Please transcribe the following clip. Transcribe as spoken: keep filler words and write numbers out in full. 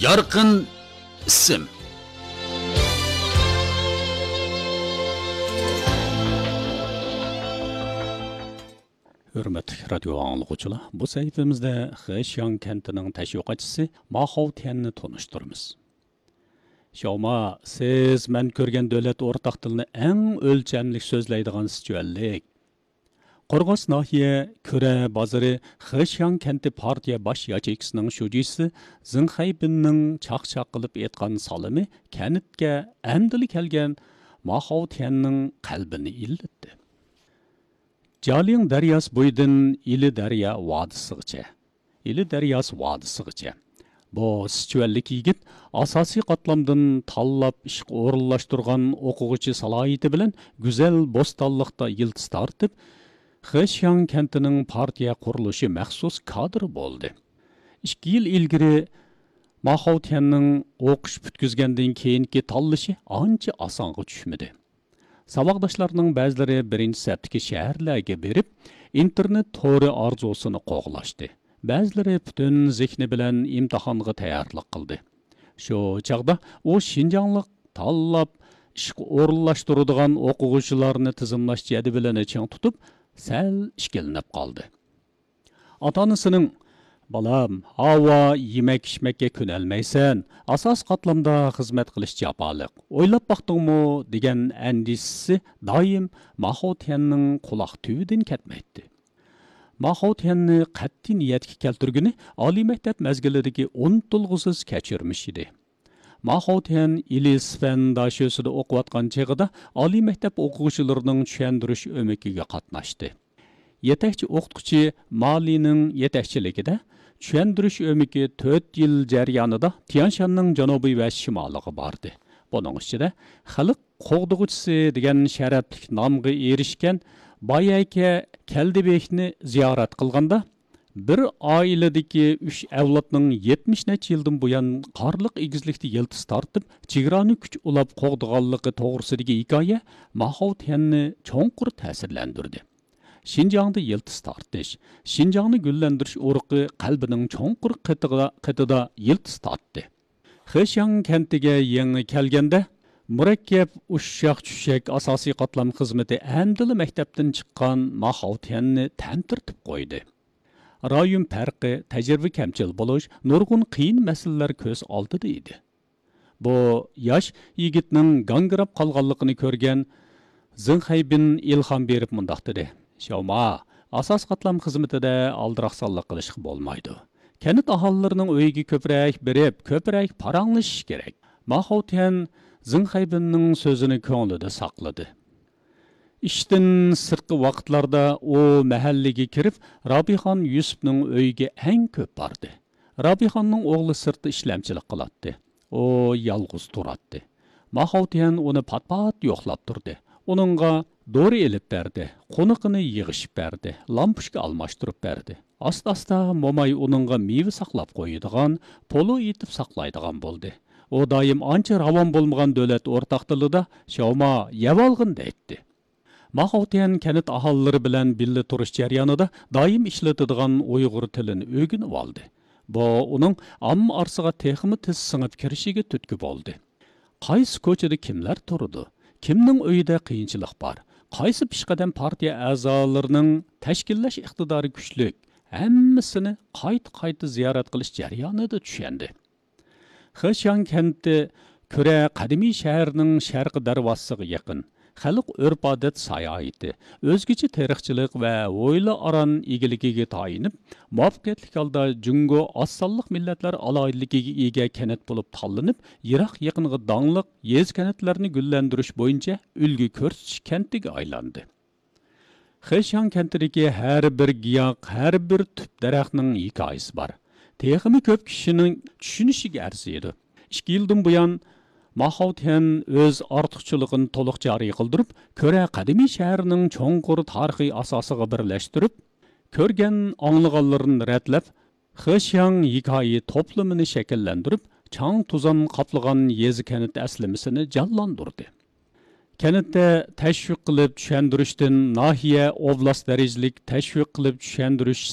يارقىن ئىسىم. ھۆرمەتلىك رادىيو ئاڭلىغۇچىلار، بۇ سەھىپىمىزدە خېشياڭ كەنتىنىڭ تەشۋىقاتچىسى ماخاۋ تيەننى تونۇشتۇرىمىز. شياۋما، سىز مەن كۆرگەن دۆلەت ئورتاق تىلىنى ئەڭ ئۆلچەملىك سۆزلەيدىغان سىچۈەنلىك. قورغاس ناھىيە كۈرە بازىرى خېشياڭ كەنتى پارتىيە باش ياچېيكىسىنىڭ شۇجىسى زېڭ خەيبىننىڭ چاقچاق قىلىپ ئېيتقان سالىمى كەنتكە ئەمدىلا كەلگەن ماخاۋ تيەننىڭ قەلبىنى ئىللىتتى. جالىڭ دەرياسى بويىدىن ئىلى دەريا ۋادىسىغىچە، ئىلى دەرياسى ۋادىسىغىچە. بۇ سىچۈەنلىك يىگىت ئاساسىي قاتلامدىن تاللاپ ئىشقا ئورۇنلاشتۇرغان ئوقۇغۇچى سالاھىيىتى بىلەن گۈزەل بوستانلىقتا يىلتىز تارتىپ، خېشياڭ كەنتىنىڭ پارتىيە قۇرۇلۇشى مەخسۇس كادىرى بولدى. ئىككى يىل ئىلگىرى ماخاۋ تيەننىڭ ئوقۇش پۈتكۈزگەندىن كېيىنكى تاللىشى ئانچە ئاسانغا چۈشمىدى. ساۋاقداشلارنىڭ بەزىلىرى بىرىنچى سەپتىكى شەھەرلەرگە بېرىپ، ئىنتېرنېت تورى ئارزۇسىنى قوغلاشتى. بەزىلىرى پۈتۈن زېھنى بىلەن ئىمتىھانغا تەييارلىق قىلدى. شۇ چاغدا ئۇ شىنجاڭلىق تاللاپ ئىشقا ئورۇنلاشتۇرىدىغان ئوقۇغۇچىلارنى تىزىملاش جەدۋىلىنى چىڭ تۇتۇپ، سەل ئىككىلىنىپ قالدى. ئاتا-ئانىسىنىڭ، «بالام، ھاۋا يېمەك-ئىچمەككە كۆنەلمەيسەن، ئاساسىي قاتلامدا خىزمەت قىلىش جاپالىق، ئويلاپ باقتىڭمۇ؟» دېگەن ئەندىشىسى دائىم ماخاۋ تيەننىڭ قۇلاق تۈۋىدىن كەتمەيتتى. ماخاۋ تيەننى قەتئىي نىيەتكە كەلتۈرگىنى ئالىي مەكتەپ مەزگىلىدىكى ئۇنتۇلغۇسىز كەچۈرمىشى ئىدى. ماخاۋ تيەن ئىلى سىفەن داشۆسىدا ئوقۇۋاتقان چېغىدا ئالىي مەكتەپ ئوقۇغۇچىلىرىنىڭ چۈشەندۈرۈش ئۆمىكىگە قاتناشتى. يېتەكچى ئوقۇتقۇچى مالىنىڭ يېتەكچىلىكىدە چۈشەندۈرۈش ئۆمىكى تۆت يىل جەريانىدا تيانشاننىڭ جەنۇبى ۋە شىمالىغا باردى. بۇنىڭ ئىچىدە خەلق قوغدىغۇچىسى دېگەن شەرەپلىك نامغا ئېرىشكەن بايەكە كەلدىبېكنى زىيارەت قىلغاندا، بىر ئائىلىدىكى ئۈچ ئەۋلادنىڭ يەتمىش نەچچە يىلدىن بۇيان قارلىق ئېگىزلىكتە يىلتىز تارتىپ، چېگرانى كۈچ ئۇلاپ قوغدىغانلىقى توغرىسىدىكى ھېكايە ماخاۋ تيەننى چوڭقۇر تەسىرلەندۈردى. شىنجاڭدا يىلتىز تارتىش، شىنجاڭنى گۈللەندۈرۈش ئۇرۇقى قەلبىنىڭ چوڭقۇر قېتىغا-، قېتىدا يىلتىز تارتتى. خېشياڭ كەنتىگە يېڭى كەلگەندە، مۇرەككەپ ئۇششاق-چۈششەك ئاساسىي قاتلام خىزمىتى ئەمدىلا مەكتەپتىن چىققان ماخاۋ تيەننى تەمتىرىتىپ قويدى. رايون پەرقى، تەجرىبە كەمچىل بولۇش، نۇرغۇن قىيىن مەسىلىلەر كۆز ئالدىدا ئىدى. بۇ ياش يىگىتنىڭ گاڭگىراپ قالغانلىقىنى كۆرگەن زېڭ خەيبىن ئىلھام بېرىپ مۇنداق دېدى: «شياۋما، ئاساسىي قاتلام خىزمىتىدە ئالدىراقسانلىق قىلىشقا بولمايدۇ. كەنت ئاھالىلىرىنىڭ ئۆيىگە كۆپرەك بېرىپ، كۆپرەك پاراڭلىشىش كېرەك.» ماخاۋ تيەن زېڭ خەيبىننىڭ سۆزىنى كۆڭلىدە ساقلىدى. ئىشتىن سىرتقى ۋاقىتلاردا ئۇ مەھەللىگە كىرىپ، رابىخان يۈسۈپنىڭ ئۆيىگە ئەڭ كۆپ باردى. رابىخاننىڭ ئوغلى سىرتتا ئىشلەمچىلىك قىلاتتى. ئۇ يالغۇز تۇراتتى. ماخاۋ تيەن ئۇنى پات-پات يوقلاپ تۇردى. ئۇنىڭغا دورا ئېلىپ بەردى، قونىقىنى يىغىشىپ بەردى، لامپۇچكا ئالماشتۇرۇپ بەردى. ئاستا-ئاستا موماي ئۇنىڭغا مېۋە ساقلاپ قويىدىغان، پولۇ ئېتىپ ساقلايدىغان بولدى. ئۇ دائىم ئانچە راۋان بولمىغان دۆلەت ئورتاق تىلىدا «شياۋما، يەۋالغىن» دەيتتى. ماخاۋ تيەن كەنت ئاھالىلىرى بىلەن بىللە تۇرۇش جەريانىدا دائىم ئىشلىتىدىغان ئۇيغۇر تىلىنى ئۆگىنىۋالدى. بۇ ئۇنىڭ ئامما ئارىسىغا تېخىمۇ تېز سىڭىپ كىرىشىگە تۈرتكە بولدى. قايسى كوچىدا كىملەر تۇرىدۇ، كىمنىڭ ئۆيىدە قىيىنچىلىق بار، قايسى پېشقەدەم پارتىيە ئەزالىرىنىڭ تەشكىللەش ئىقتىدارى كۈچلۈك، ھەممىسىنى قايتا-قايتا زىيارەت قىلىش جەريانىدا چۈشەندى. خېشياڭ كەنتى كۈرە قەدىمىي شەھەرنىڭ شەرقىي دەرۋازىسىغا يېقىن. خەلق ئۆرپ-ئادەت ساياھىتى، ئۆزگىچە تېرىقچىلىق ۋە ھويلا-ئاران ئىگىلىكىگە تايىنىپ، مۇۋەپپەقىيەتلىك ھالدا جۇڭگو ئاز سانلىق مىللەتلەر ئالاھىدىلىكىگە ئىگە كەنت بولۇپ تاللىنىپ، يىراق-يېقىنغا داڭلىق يېزا-كەنتلەرنى گۈللەندۈرۈش بويىچە ئۈلگە كۆرسىتىش كەنتىگە ئايلاندى. خېشياڭ كەنتىدىكى ھەر بىر گىياھ، ھەر بىر تۈپ دەرەخنىڭ ھېكايىسى بار. تېخىمۇ كۆپ كىشىنىڭ چۈشىنىشىگە ئەرزىيدۇ. ئىككى يىلدىن بۇيان، ماخاۋ تيەن ئۆز ئارتۇقچىلىقىنى تولۇق جارى قىلدۇرۇپ، كۈرە قەدىمىي شەھىرىنىڭ چوڭقۇر تارىخىي ئاساسىغا بىرلەشتۈرۈپ، كۆرگەن، ئاڭلىغانلىرىنى رەتلەپ، خېشياڭ ھېكايە توپلىمىنى شەكىللەندۈرۈپ، چاڭ-توزان قاپلىغان يېزا-كەنت ئەسلىمىسىنى جانلاندۇردى. كەنتتە تەشۋىق قىلىپ چۈشەندۈرۈشتىن ناھىيە، ئوبلاست دەرىجىلىك تەشۋىق قىلىپ چۈشەندۈرۈش